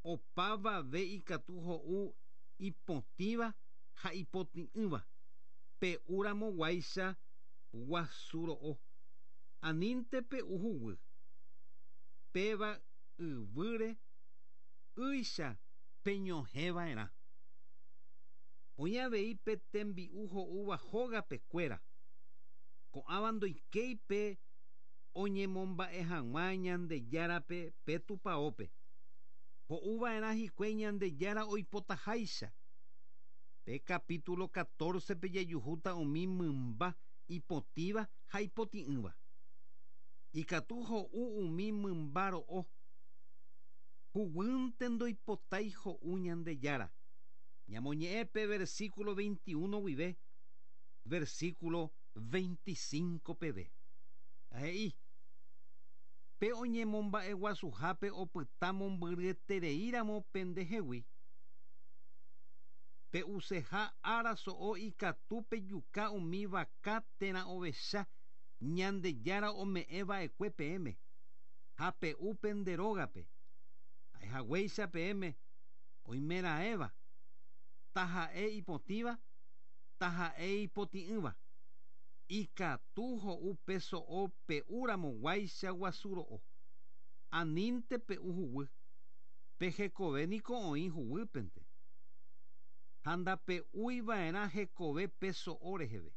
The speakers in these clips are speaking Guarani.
Opavave ikatu ho'u ipotĩva ha ipotĩ'ỹva, pe'u ramo guáicha guasu ro'o, anínte pe'u huguy. Péva yvýre ýicha peñohẽ va'erã. Oĩ avei pe tembi'u ho'úva hógape kuéra. Ko'ãva ndoikéi pe oñemomba'e hag̃ua Ñandejárape pe tupaópe. Ho'u va'erã hikuái Ñandejára oipotaháicha. Pe capítulo 14-pe jajuhúta umi mymba ipotĩva ha ipotĩ'ỹva. Ikatu ho'u umi mymba ro'o. Huguýnte ndoipotái ho'u Ñandejára. Ñamoñe'ẽ pe versículo 21 guive versículo 25 peve. Ha he'i, Pe oñemomba'eguasuhápe opyta mombyryetereíramo pendehegui, pe'useha ára so'o ikatu pejuka umi vaka térã ovecha Ñandejára ome'ẽ va'ekue peẽme, ha pe'u pende rógape. Ha'ehaguéicha peẽme oimeraẽva, taha'e ipotĩva, taha'e ipotĩ'ỹva, ikatu ho'u pe so'o pe'úramo guáicha guasu ro'o. Anínte pe'u huguy, pe hekove niko oĩ huguýpente. Ha ndape'úi va'erã hekove pe so'o reheve.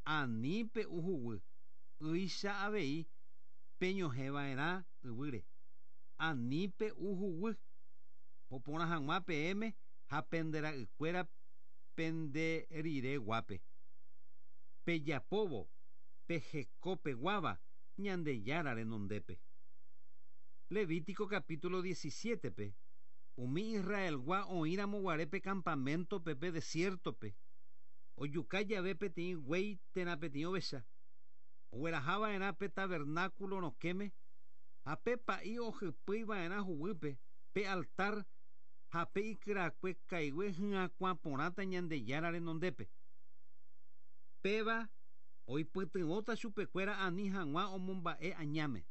Ani pe'u huguy, ýicha avei peñohẽ va'erã yvýre. Ani pe'u huguy, oporã hag̃ua peẽme ha pende ra'ykuéra pende rire guápe. Pejapóvo pe heko peguáva Ñandejára renondépe. Levítico capítulo 17-pe, umi Israelgua oĩramo guare pe campamento-pe pe desierto-pe, ojuka jave peteĩ guéi térã peteĩ ovecha, ogueraha va'erã pe tabernáculo rokẽme ha pe pa'i ohypýi va'erã huguýpe pe altar ha pe ikyrakue kaigue hyakuã porãta Ñandejára renondépe. Péva oipytyvõta chupekuéra ani hag̃ua omomba'e añáme.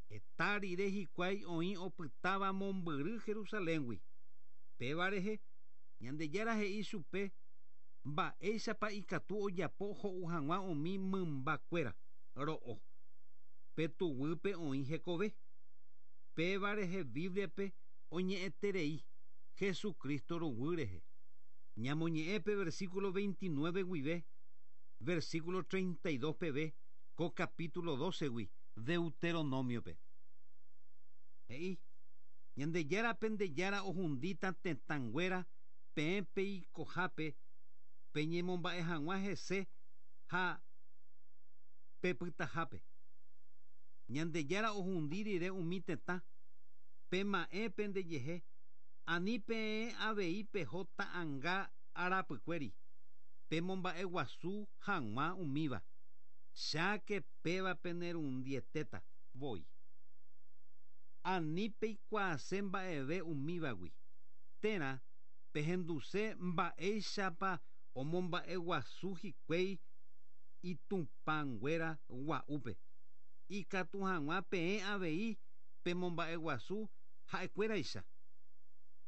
Heta rire hikuái oĩ opytáva mombyry Jerusaléngui. Péva rehe, Ñandejára he'i chupe mba'éichapa ikatu ojapo ho'u hag̃ua umi mymba kuéra ro'o. Pe tuguýpe oĩ hekove. Péva rehe Bíbliape oñe'ẽterei Jesucristo ruguy rehe. Ñamoñe'ẽ pe versículo 29 guive versículo 32 peve ko capítulo 12-gui Deuteronomio-pe. He'i, Ñandejára pende Jára ohundíta tetãnguéra peẽ peikohápe peñemomba'e hag̃ua hese ha pepytahápe. Ñandejára ohundi rire umi tetã, pema'ẽ pendejehe, ani peẽ avei peho ta'anga arapykuéri, pemomba'eguasu hag̃ua umíva, cháke péva penerundietéta voi. Ani peikuaase mba'eve umívagui, térã pehenduse mba'éichapa omomba'eguasu hikuái itupãnguéra gua'úpe, ikatu hag̃ua peẽ avei pemomba'eguasu ha'ekuéraicha.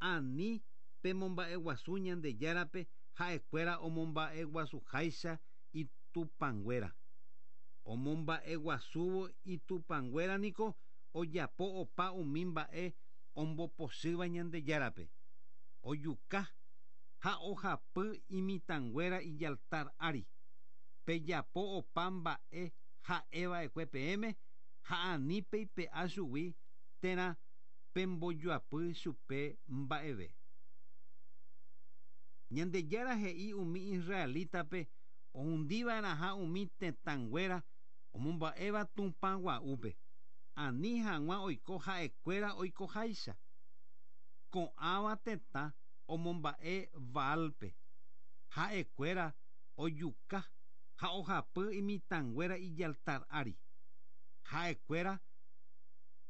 Ani pemomba'eguasu Ñandejárape ha'ekuéra omomba'eguasuháicha itupãnguéra. Omomba'eguasúvo itupãnguéra niko ojapo opa umi mba'e ombopochýva Ñandejárape, ojuka ha ohapy imitãnguéra ijaltar ári. Pejapo opa mba'e ha'e va'ekue peẽme ha ani peipe'a chugui térã pembojoapy chupe mba'eve. Ñandejára he'i umi israelítape ohundiva'erãha umi tetãnguéra omomba'éva Tupã gua'úpe, ani hag̃ua oiko ha'ekuéra oikoháicha. Ko'ãva tetã omomba'e Baalpe. Ha'ekuéra ojuka ha ohapy imitãnguéra ijaltar ári. Ha'ekuéra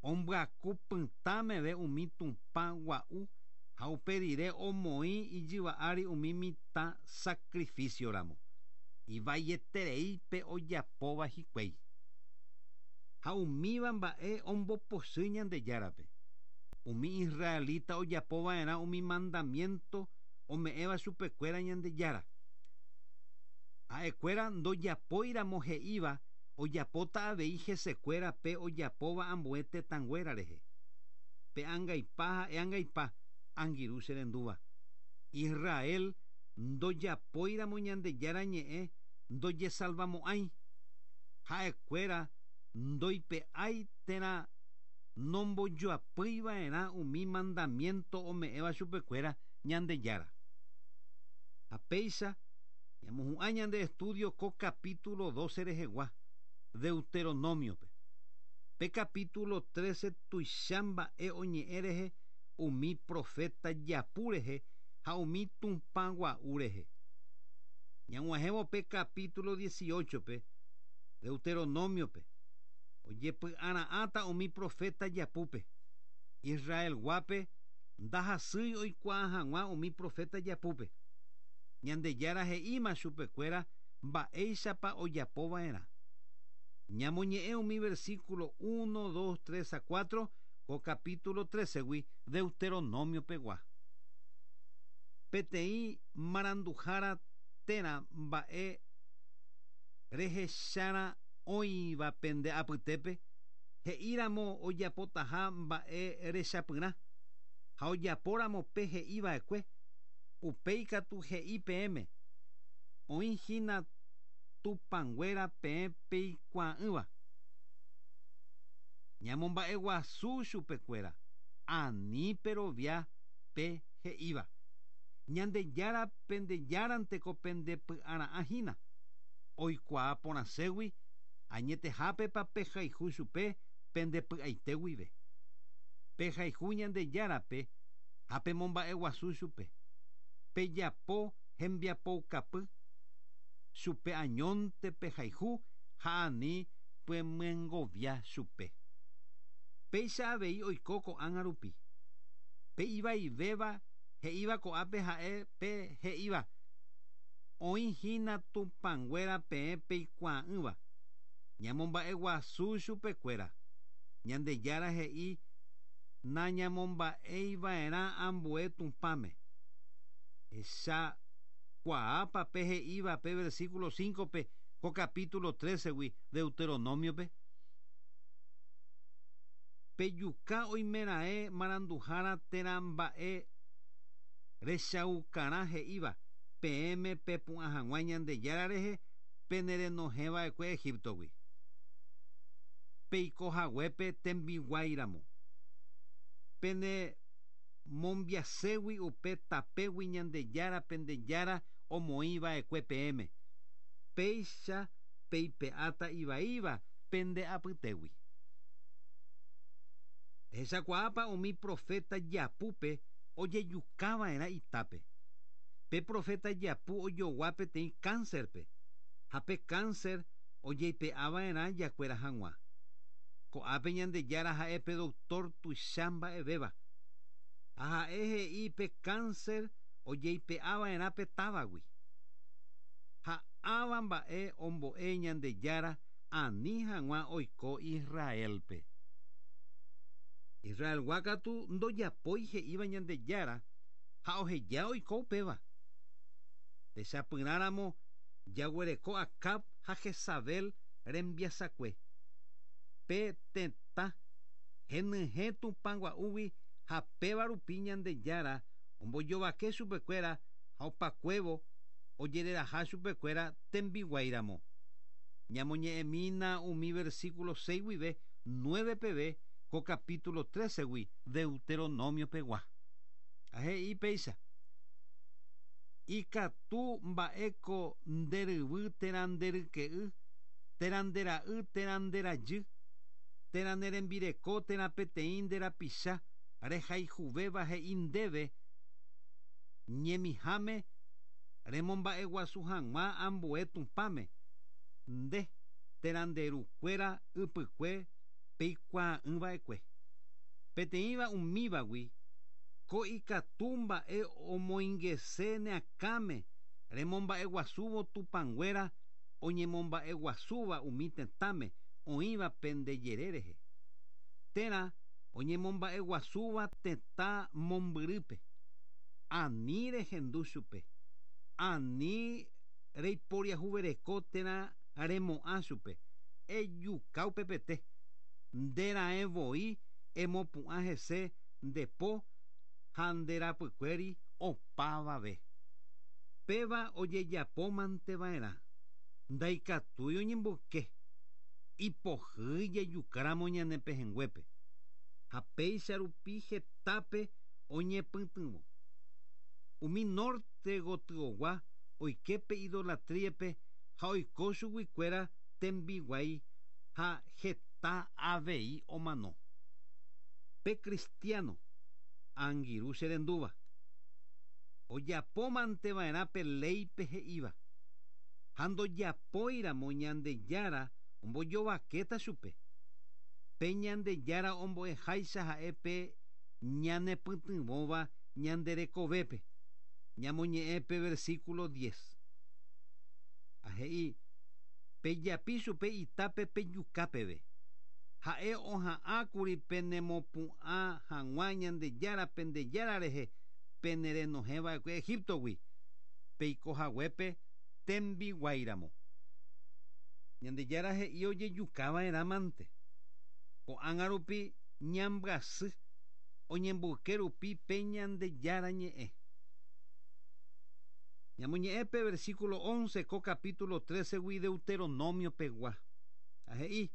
ombyaku pytã meve umi Tupã gua'u ha upe rire omoĩ ijyva ári umi mitã sacrificio ramo. Ivaieterei pe ojapóva hikuái. Ha umíva mba'e ombopochy Ñandejárape. Umi israelita ojapova'erã umi mandamiento ome'ẽva chupekuéra Ñandejára. Ha'ekuéra ndojapóiramo he'íva ojapóta avei hesekuéra pe ojapóva ambue tetãnguéra rehe. Pe angaipa ha'e angaipa, angirũ che rendúva. Israel ndojapóiramo Ñandejára ñe'ẽ ndojesalvamo'ãi. Ha'ekuéra ndoipe'ái térã nombojoapýiva'erã umi mandamiento ome'ẽva chupekuéra Ñandejára. Ha péicha ñamohu'ã ñande estudio ko capítulo 12 rehegua, Deuteronomio-pe. Pe capítulo 13 tuicha mba'e oñe'ẽ rehe umi profeta japu rehe ha umi tupã gua'u rehe. Ñag̃uahẽvo pe capítulo 18-pe, Deuteronomio-pe, ojepy'ara'ãta umi profeta japúpe. Israel-guápe ndahasýi oikuaa hag̃ua umi profeta japúpe. Ñandejára he'íma chupekuéra mba'éichapa ojapova'erã. Ñamoñe'ẽ umi versículo 1, 2, 3 ha 4 ko capítulo 13-gui Deuteronomio-pegua. Peteĩ maranduhára térã mba'e rehecharã oĩva pende apytépe he'íramo ojapotaha mba'e rechapyrã ha ojapóramo pe he'iva'ekue, upéi katu he'i peẽme, Oĩ hína tupãnguéra peẽ peikuaa'ỹva. Ñamomba'eguasu chupekuéra, ani perovia pe he'íva. Ñandejára pende Járanteko pende py'ara'ã hína. Oikuaa porãségui añetehápepa pehayhu chupe pende py'aite guive. Pehayhu Ñandejárape ha pemomba'eguasu chupe. Pejapo hembiapoukapy chupe añónte pehayhu ha ani pemyengovia chupe. Péicha avei oiko ko'ág̃a rupi. Pe ivaivéva he'íva ko'ápe ha'e pe he'íva, Oĩ hína tupãnguéra peẽ peikuaa'ỹva. Ñamomba'eguasu chupekuéra. Ñandejára he'i nañamomba'eiva'erã ambue Tupãme. Ehechakuaápa pe he'íva pe versículo 5-pe ko capítulo 13-gui Deuteronomio-pe? Pejuka oimeraẽ maranduhára térã mba'e rechaukarã he'íva peẽme pepu'ã hag̃ua Ñandejára rehe penerenohẽva'ekue Egipto-gui. Peiko haguépe tembiguái ramo. Pene mombiaségui upe tapégui Ñandejára pende Jára omoĩva'ekue peẽme. Péicha peipe'áta ivaíva pende apytégui. Ehechakuaápa umi profeta japúpe ojejukava'erã itápe. Pe profeta japu ojogua peteĩ cáncer-pe, ha pe cáncer ojeipe'ava'erã jakuera hag̃ua. Ko'ápe Ñandejára ha'e pe doctor tuicha mba'evéva. Ha ha'e he'i pe cáncer ojeipe'ava'erã pe távagui. Ha ãva mba'e ombo'e Ñandejára ani hag̃ua oiko Israel-pe. Israelgua katu ndojapói he'íva Ñandejára ha oheja oiko upéva. Techapyrãramo jaguereko Acab ha Jezabel rembiasakue. Pe tetã henyhẽ Tupã gua'úgui ha péva rupi Ñandejára ombojovake chupekuéra ha opakuévo ojereraha chupekuéra tembiguáiramo. Ñamoñe'ẽmína umi versículo 6 guive 9 peve ko capítulo 13-gui Deuteronomio-pegua. Ha he'i péicha, Ikatu mba'éko nde ryvy térã nde ryke'y, térã nde ra'y térã nde rajy, térã ne rembireko térã peteĩ nde rapicha rehayhuvéva he'i ndéve ñemiháme remomba'eguasu hag̃ua ambue Tupãme, nde térã nde ru kuéra ypykue peikuaa'ỹva'ekue. Peteĩva umívagui ko ikatu mba'e omoingese ne akãme remomba'eguasúvo tupãnguéra oñemomba'eguasúva umi tetãme oĩva pende jere rehe. Térã Oñemomba'eguasúva tetã mombyrýpe. Ani rehendu chupe. Ani reiporiahuvereko térã remo'ã chupe. Ejuka upepete. Nde raẽ voi emopu'ã hese nde po ha nde rapykuéri opavave. Péva ojejapómante va'erã. Ndaikatúi oñemboyke. Ipohýi jajukáramo ñane pehẽnguépe. Ha péicha rupi hetápe oñepytyvõ. Umi norte gotyogua oike pe idolatríape ha oiko chuguikuéra tembiguái ha heta avei omano. Pe cristiano, angirũ che rendúva, ojapómante va'erã pe léipe he'íva, ha ndojapóiramo Ñandejára ombojovakéta chupe. Pe Ñandejára ombo'eháicha ha'e pe ñanepytyvõva ñande rekovépe. Ñamoñe'ẽ pe versículo diez. Ha he'i, Pejapi chupe itápe pejuka peve. Ha'e oha'ãkuri penemopu'ã hag̃ua Ñandejára pende Jára rehe penerenohẽva'ekue Egíptogui, peiko haguépe tembiguáiramo. Ñandejára he'i ojejukava'erã mante. Ko'ág̃a rupi ñambyasy oñemboyke rupi pe Ñandejára ñe'ẽ. Ñamoñe'ẽ pe versículo once ko capítulo trece-gui Deuteronomio pegua. Ha he'i.